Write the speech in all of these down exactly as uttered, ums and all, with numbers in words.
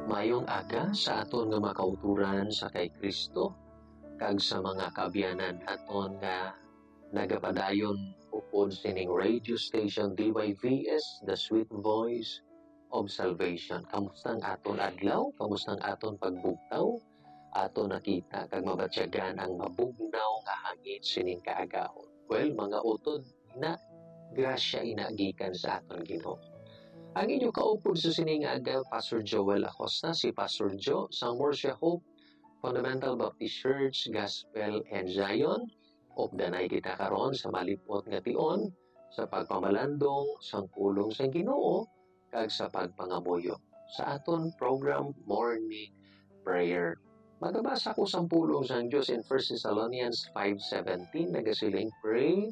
Mayong aga sa aton nga mga kauturan sa kay Kristo, kag sa mga kaabyanan naton nga nagapadayon upod sining radio station D Y V S, The Sweet Voice of Salvation. Kamusta ang aton adlaw? Kamusta ang aton pagbugtaw? Aton nakita kag mabatyagan ang mabugnaw nga hangin sining kaagahon. Well, mga utod, ina, grasya ina gikan sa aton Ginoo. Ang inyo kaupod sa sining aga, Pastor Joel Acosta, si Pastor Jo, sang Murcia Hope Fundamental Baptist Church, Gospel and Zion. Updanay kita karon sa malipot nga tion sa pagpamalandong sang pulong sang Ginoo kag sa pagpangamuyo sa aton program, Morning Prayer. Magabasa ko sang pulong sang Dios in First Thessalonians five seventeen, nagasiling, "Pray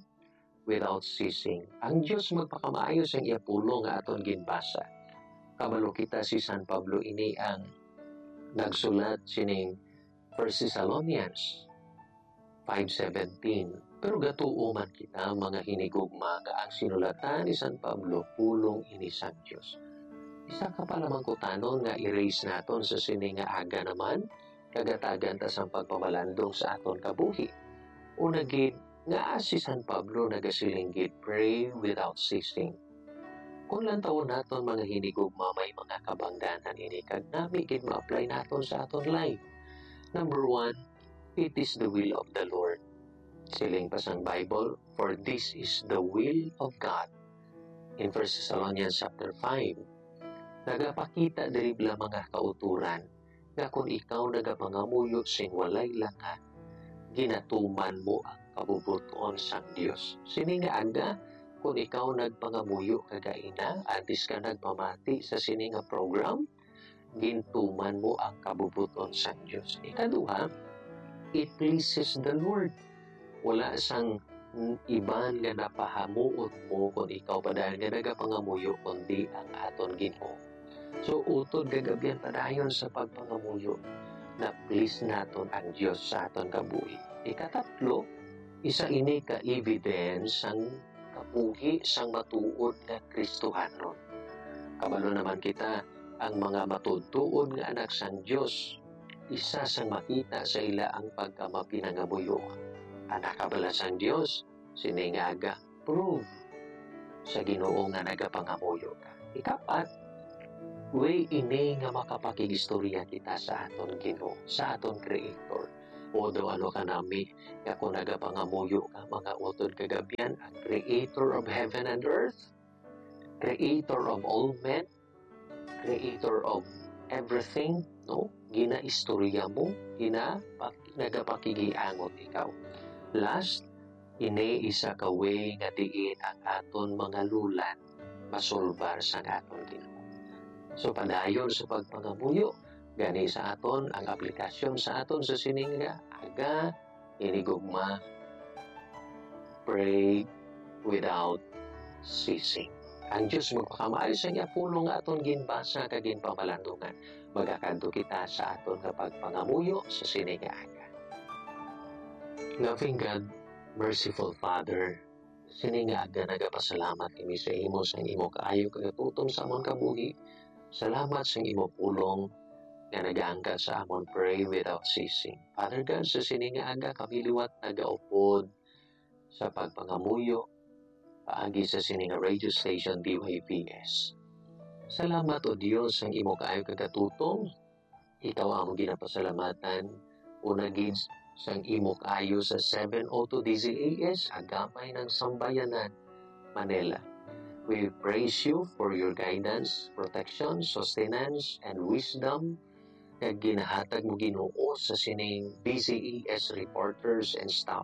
without ceasing." Ang Dios magpakamaayo sang iya pulong nga aton ginbasa. Kabalo kita si San Pablo ini ang nagsulat sining First Thessalonians five seventeen. Pero gatuo man kita, mga hinigugma, nga ang sinulatan ni San Pablo pulong ini sang Dios. Isa ka palamangkutanon nga i-raise naton sa sini nga aga naman, kagatagan ta sang pagpamalandong sa aton kabuhi. Una gid, nga si San Pablo nagasiling gid, "Pray without ceasing." Kung lantawon naton, mga hinigugma, may mga kabangdanan ini kag nami gid ma-apply naton sa aton life. Number one, it is the will of the Lord. Siling pa sang Bible, "For this is the will of God." In First Thessalonians chapter five, nagapakita diri bala, mga kauturan, nga kon ikaw nagapangamuyo sing walay langan, ginatuman mo ang kabubot-on sang Dios. Sini nga aga, kon ikaw nagpangamuyo kagaina, antes ka nagpamati sa sini nga program, gintuman mo ang kabubot-on sang Dios. Ikaduha, it pleases the Lord. Wala sang iban nga napahamuot mo kon ikaw padayon nga nagapangamuyo, kundi ang aton Ginoo. So, utod kag abyan padayon sa pagpangamuyo, na-please naton ang Dios sa aton kabuhi. Ikatatlo, isa ini ka evidence sang kabuhi sang matuod nga Kristohanon. Kabalo naman kita, ang mga matuod-tuod nga anak sang Dios, isa sang makita sa ila ang pagkamapinangamuyo. Anak ka bala sang Dios, sini nga aga, prove sa Ginoo nga nagapangamuyo ka. Ikapat, way ini nga makapakigistorya kita sa aton Ginoo, sa aton Creator. O daw ano ka nami, nga kung nagapangamuyo ka, mga utod kag abyan, ang Creator of heaven and earth, Creator of all men, Creator of everything, no? Ginaistorya mo, gina-, nagapakigiangot ikaw. Last, ini isa ka way nga diin ang aton mga lulan masulbar sang aton Ginoo. So, padayon sa pagpangamuyo, gani sa aton ang aplikasyon sa aton sa sini nga aga, hinigugma, pray without ceasing. Ang Dios magpakamaayo sa iya pulong nga aton ginbasa kag ginpamalandungan. Magakadto kita sa aton nga pagpangamuyo sa sini nga aga. Loving God, merciful Father, sini nga aga nagapasalamat kami sa imo sang imo kaayo kag katutom sa amon kabuhi. Salamat sang imo pulong nga nagaangkat sa amon pray without ceasing. Father God, sa sini nga aga kami liwat nagaupod sa pagpangamuyo paagi sa sini nga radio station D Y V S. Salamat, O Dios, sang imo kaayo kag katutom. Ikaw amo ginapasalamatan, una gid sang imo kaayo sa seven oh two D Z A S, Agamay ng Sambayanan, Manila. We praise you for your guidance, protection, sustenance, and wisdom nga ginahatag mo, Ginoo, sa sining D Z A S reporters and staff.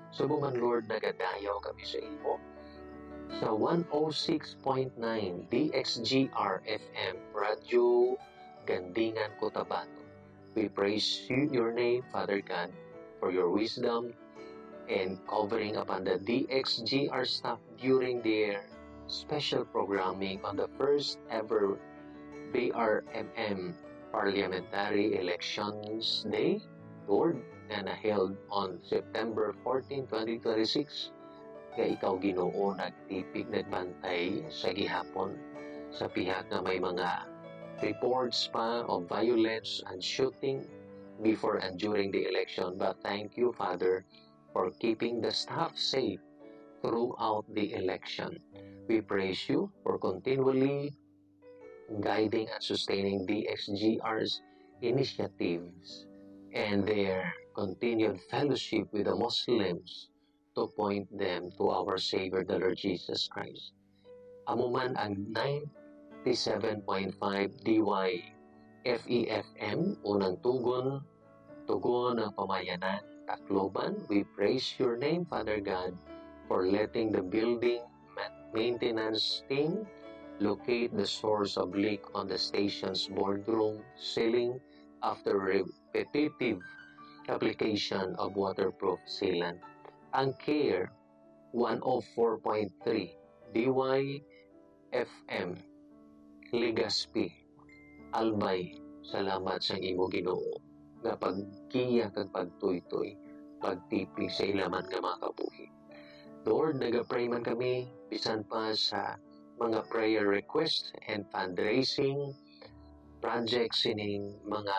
Subong man, Lord, nagadayaw kami sa imo sa one oh six point nine D X G R F M, Radyo Gandingan, Cotabato. We praise you, your name, Father God, for your wisdom and covering upon the D X G R staff during their special programming on the first ever B R M M Parliamentary Elections Day, Lord, nga na-held on September fourteen, twenty twenty-six, nga ikaw, Ginoo, nagtipig, nagbantay sa gihapon sa pihak nga may mga reports pa of violence and shooting before and during the election. But thank you, Father, for keeping the staff safe throughout the election. We praise you for continually guiding and sustaining D X G R's initiatives and their continued fellowship with the Muslims to point them to our Savior, the Lord Jesus Christ. Amo man ang ninety-seven point five D Y F E F M, unang tugon, tugon ng pamayanan, Tacloban. We praise your name, Father God, for letting the building ma-, maintenance team locate the source of leak on the station's boardroom ceiling after repetitive application of waterproof sealant. Ang CARE one oh four point three D Y F M, Legazpi, Albay, salamat sa imo, Ginoo, nga paggiya kag pagtuytoy, pagtipig sa ila man nga mga kabuhi. Lord, nagapray man kami bisan pa sa mga prayer requests and fundraising projects sining mga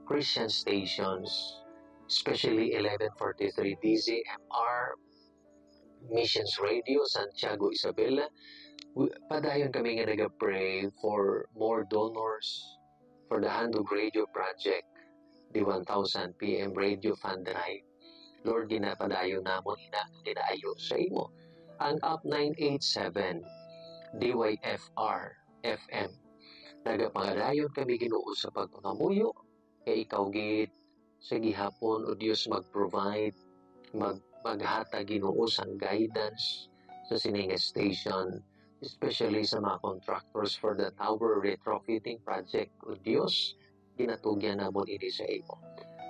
Christian stations, especially eleven forty-three D Z M R, Missions Radio, Santiago, Isabela. Wi-, padayon kami nga nagapray for more donors for the Handog Radio Project, the one thousand P M Radio Fund Drive. Lord, ginapadayon namon ina nga ginaayo sa imo. Ang Up nine eight seven D Y F R F M. Nagapangadayon kami, Ginoo, sa pagpangamuyo kay ikaw gid sa gihapon, O Dios, mag-provide, mag-, maghatag, Ginoo, sang guidance sa sini nga station, especially sa mga contractors for the tower retrofitting project. O Dios, ginatugyan namon ini sa imo.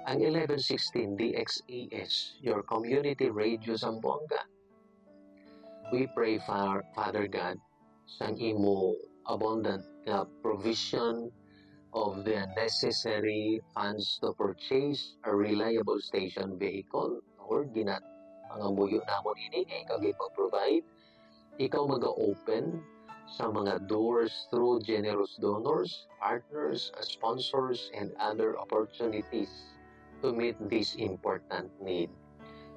Ang eleven sixteen D X E S, your community radio Zamboanga. We pray, Fa-, Father God, sang imo abundant nga provision of the necessary funds to purchase a reliable station vehicle. Lord, gina-, pangamuyo namon ini nga ikaw gid mag-provide. Ikaw maga-open sa mga doors through generous donors, partners, sponsors, and other opportunities to meet this important need.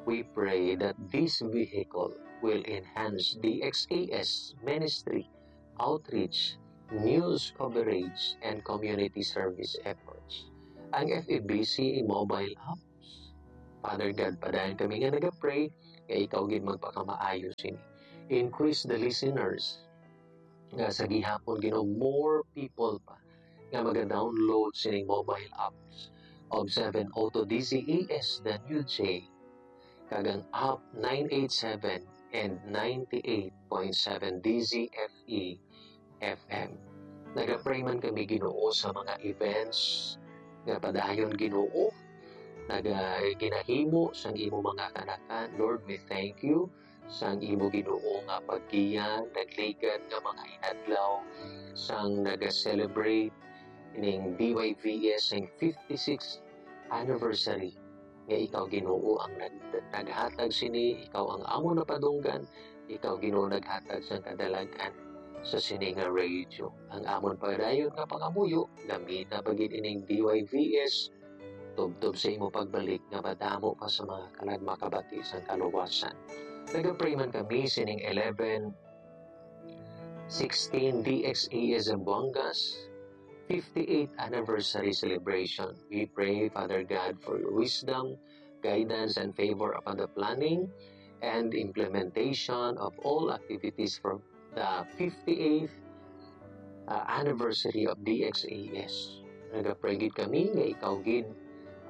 We pray that this vehicle will enhance the D X E S ministry, outreach, news coverage, and community service efforts. Ang F E B C mobile apps. Father God, padayon kami nga nagapray nga ikaw gid magpakamaayo sini. Increase the listeners nga sa gihapon, Ginoo, more people pa nga maga-download sining mobile apps of seven O two D Z E S, the New J, kag ang Up nine eight seven and ninety-eight point seven D Z F E F M. Nagapray man kami, Ginoo, sa mga events nga padayon, Ginoo, naga-, ginahimo sang imo mga kanakan. Lord, we thank you sang imo, Ginoo, nga paggiya, nagligad nga mga inadlaw sang naga-celebrate ning D Y V S ang fifty-sixth anniversary, nga ikaw, Ginoo, ang nag-, naghatag sini, ikaw ang amon napadunggan, ikaw, Ginoo, naghatag sang kadalag-an sa sini nga radio. Ang amon padayon nga pangamuyo, gamita pa gid ining D Y V S tubtob sa imo pagbalik nga madamo pa sa mga kalag makabati sang kaluwasan. Nagapray man kami sining eleven sixteen D X E S Zamboanga's fifty-eighth anniversary celebration. We pray, Father God, for your wisdom, guidance, and favor upon the planning and implementation of all activities for the fifty-eighth, uh, anniversary of D X E S. Nagapray gid kami nga ikaw gid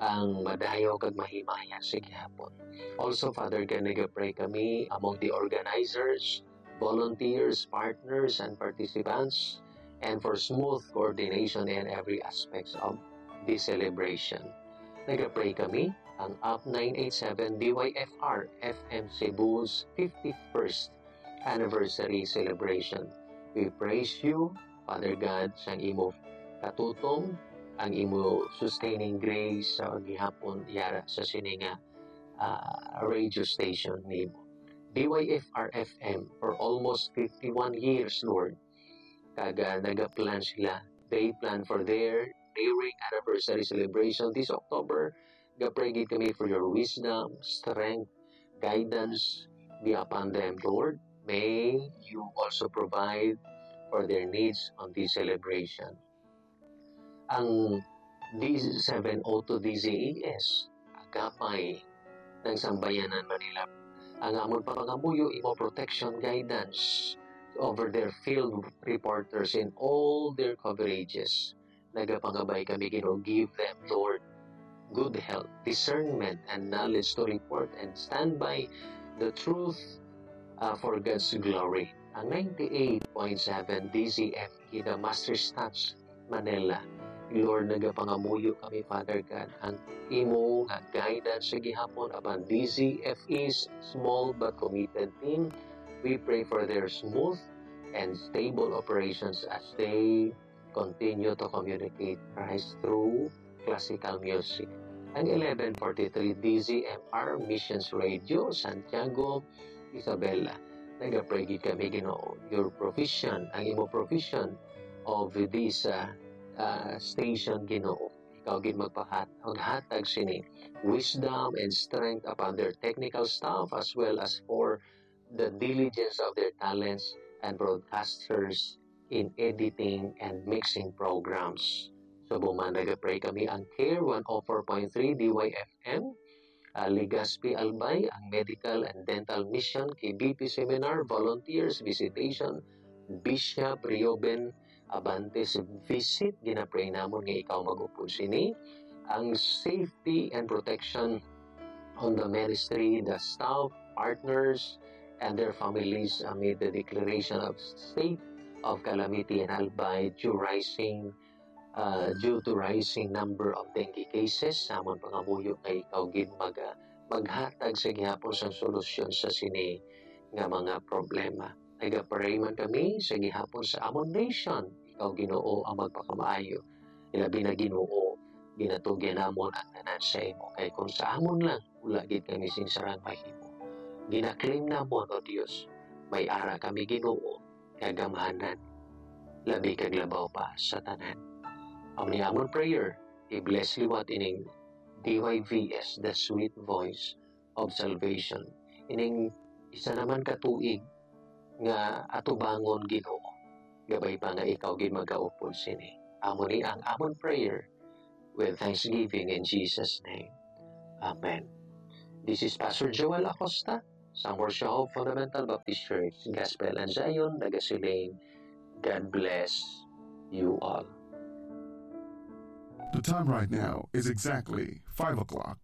ang madayaw kag mahimaya sa gihapon. Also, Father God, nagapray kami among the organizers, volunteers, partners, and participants, and for smooth coordination in every aspects of this celebration. Nagapray kami ang Up nine eight seven D Y F R F M Cebu's fifty-first anniversary celebration. We praise you, Father God, sang imo katutom, ang imo sustaining grace sa gihapon yara sa sini nga, ah, radio station nimo. D Y F R F M for almost fifty-one years, Lord. Kag, ah, nagaplan sila faith plan for their nearing anniversary celebration this October. Gapray gid kami for your wisdom, strength, guidance be upon them, Lord. May you also provide for their needs on this celebration. Ang D seven oh two D Z A S, Agapay ng Sambayanan Manila. Ang amon pangamuyo, imo protection, guidance over their field reporters in all their coverages. Nagapangabay kami, Ginoo, give them, Lord, good health, discernment, and knowledge to report and stand by the truth, uh, for God's glory. Ang ninety-eight point seven D Z M E, the Master's Touch, Manila. Lord, nagapangamuyo kami, Father God, ang imo nga guidance sa gihapon upon D Z F E's small but committed team. We pray for their smooth and stable operations as they continue to communicate Christ through classical music. Ang eleven forty-three D Z M R Missions Radio, Santiago, Isabela. Nagapray gid kami, Ginoo, your provision, ang imo provision of this, uh, uh, station, Ginoo. Ikaw gid magpahat-, maghatag sini wisdom and strength upon their technical staff as well as for the diligence of their talents and broadcasters in editing and mixing programs. So, buman nagapray kami ang Care one oh four point three D Y F M, uh, Legazpi Albay, ang Medical and Dental Mission, K B P Seminar, volunteers, visitation, Bishop Reuben Abantes visit, ginapray namon nga ikaw mag-upod sini. Ang safety and protection on the ministry, the staff, partners, and their families amid the declaration of state of calamity in Albay due rising, uh, due to rising number of dengue cases. Sa amon pangamuyo nga ikaw gid mag-, maghatag sa gihapon sang solusyon sa sini nga mga problema. Nagapray man kami sa gihapon sa amon nation. Ikaw, Ginoo, ang magpakamaayo. Ilabi na, Ginoo, ginatugyan namon ang tanan sa imo. Kay kung sa amon lang, wala gid kami sing sarang mahimo. Ginaklaim namon, O Dios, may ara kami, Ginoo, nga gamhanan, labi kag labaw pa sa tanan. Amo ni amon prayer, i-bless liwat ining D Y V S, the sweet voice of salvation. Ining isa naman ka tuig nga atubangon, Ginoo, gabay pa nga ikaw gid magaupod sini. Amo ni ang amon prayer with thanksgiving in Jesus' name. Amen. This is Pastor Joel Acosta, Samor Siya Hope Fundamental Baptist Church, Gospel and Zion, nagasiling, God bless you all. The time right now is exactly five o'clock.